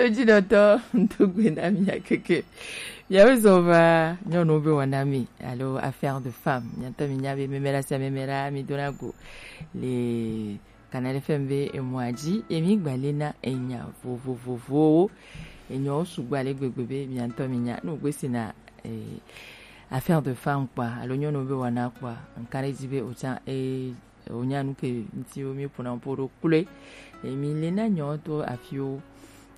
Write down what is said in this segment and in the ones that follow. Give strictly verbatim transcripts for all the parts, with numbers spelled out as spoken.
Ejinɔtɔ, ŋdo gbe na mia keke. Miawo zɔ va nyɔnuwo be wɔna me alo affaire de femme. Mia ŋutɔ minya be mɛmɛɖa sia mɛmɛɖa mi dona go le Canal F M be emɔa dzi, emi gba le na enya vovovovowo. Enyawo sugbɔ ale gbegbe be mia ŋutɔ minya. Ne wògbe si na, eh, affaire de femme kpɔa, alo nyɔnuwo be wɔna kpɔa, ŋka ɖe edzi be wòtsã, eh, wònya nu ke ŋuti wo mi ƒona ƒo ɖo kloe. Emi le na nyawo to afiwo.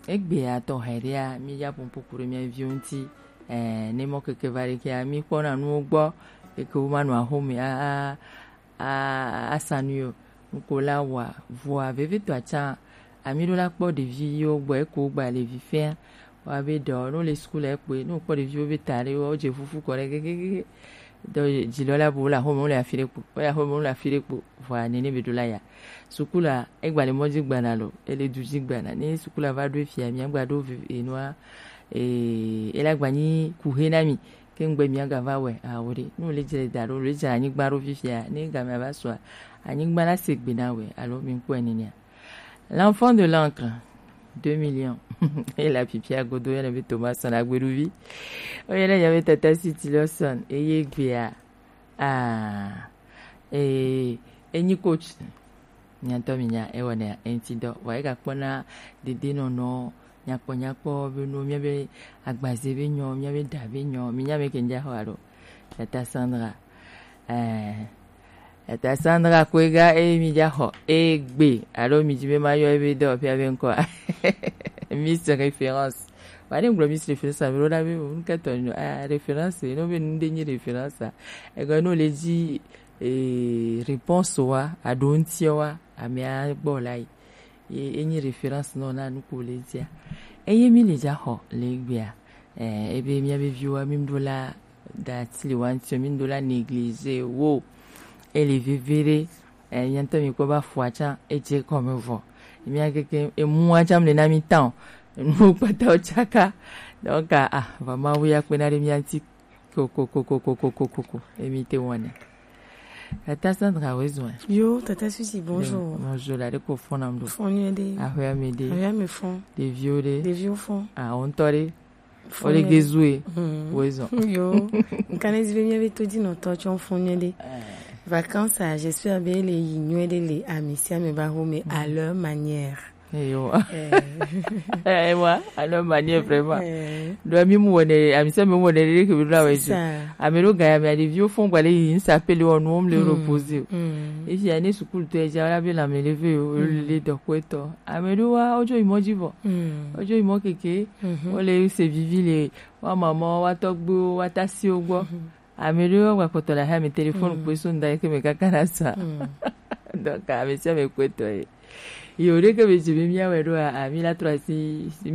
Egbea tɔ hɛɖea, mi ya ƒoƒo ku ɖe mia viwo ŋuti. Eh, ne mɔ keke va ɖe kea, mi kpɔna nuwo gbɔ, keke wo ma nɔ axome a, a, a, asa nu yo. Nuko la wa, vɔa, vevitɔa tsã, ami ɖo la kpɔ ɖevi yiwo gbɔ, eko gba le vi fɛa. Wa be ɖɔ, no le school ekpe, no kpɔ ɖeviwo be ta ɖe, wo dze fufu kɔ ɖe, kekekeke. Ɖɔ dzi lɔ la bo, wo le axome, wo le afi ɖe kpo, wo le axome, wo le afi ɖe kpo. Vɔa, nene be ɖo la ya. Suku la, egba le mɔ dzi gbana lo, ele du dzi gbana. Ne suku la va ɖo efia, mia gba ɖo vi-, enua, eh, ela gba nyi kuhe na mi. Ke ŋgbe mia ga va wɛ, awo ɖe. Ne wòle dzre da ɖo, wòle dzre anyigba ɖo fifia, ne game ava sua, anyigba la se gbe na wɛ, alo mi ŋkpɔe nenea. L'enfant de l'encre, deux millions. Ela fifia godo yɔnɛ be Thomas Son Agbeɖuvi. Oyɔnɛ nya be Tata City Lawson, eye gbea, ah, eh, enyi coach. Mia ŋutɔ minya ewɔnɛ eŋuti dɔ. Vɔa egakpɔna dedienɔnɔ nyakpɔnyakpɔ be nuwo, míabe agbaze be nyɔ, míabe ɖa be nyɔ, minya meke ŋdza xɔ alo. Tata Sandra. Eh, Tata Sandra Kuega, eye mi dza xɔ egbe alo mi dzi be ma yɔ ebe dɔ fia be ŋkɔa. Miss Référence. Vɔa ne ŋgblɔ Miss Référence, ame ɖewo la be, o, nu ka tɔ nɔ, ah, référence, no be nu ɖe nyi référence a. Ego no le dzi, eh, réponse wa, aɖo ŋutia wa, amea gbɔ la yi. Ye enyi référence nɔ na nu ko le dzia. Eye mi le dza xɔ le egbea. Eh, ebe miabe viwoa, mi ɖo la da ti le wa ŋuti, mi ɖo la négliger wo. Ele veve ɖe, eh, mia ŋutɔ mi kpɔ ba fua tsã, edze kɔme vɔ. Mia keke, emua tsã le na mi tã o. Enu kpata wo tsaka. Donc, ah, ah, va Mawu ya kpe na ɖe mia ŋuti. Ko, ko, ko, ko, ko, ko, ko, ko, ko. Emi te wɔnɛ. Tata Sandra, woezɔn. Yo, Tata Susi, bonjour. Bonjour, la de ko fɔn nam do. Fɔn nyuie ɖe. Ahwe ame ɖe. Ahwe ame fɔn. Ɖeviwo ɖe. Ɖeviwo fɔn. Ah, o ŋutɔ ɖe. Fɔn nyuie ɖe. Ole gezue. Hmm. Woezɔn. Yo. Ŋka ne zi be mia be to dzi nɔtɔ tsɔ fɔn nyuie ɖe. Eh. Vacances a, j'espère be le yi nyuie ɖe le ami sia ame ba home à leur manière. Eyo. Eh. Eh, wa, alors manière vraiment. Eh. Donc, mi mu wone, ami se mi mu wone, ke bi la we. C'est ça. Ame ɖewo ga ya, mi a ɖeviwo fɔn gba le yi, ŋsa pe le wɔ nu, wo le reposer. Mm. Et puis, ane sukulu to, eja la be la me lever o, le dɔ ko etɔ. Ame ɖewo wa, ojo imo dzi vɔ. Mm. Ojo imo keke, o le se vivi le, wa maman, wa tɔgbuiwo, wa tasiwo gbɔ. Ame ɖewo gba kpɔtɔ le hame téléphone kpoe so ŋda yi ke me kaka na sa. Donc, ame sia ame kpoe tɔ ye. Yo, ɖe ke be dzi be mía wɛ ɖo a, a, mi la trɔ asi, mi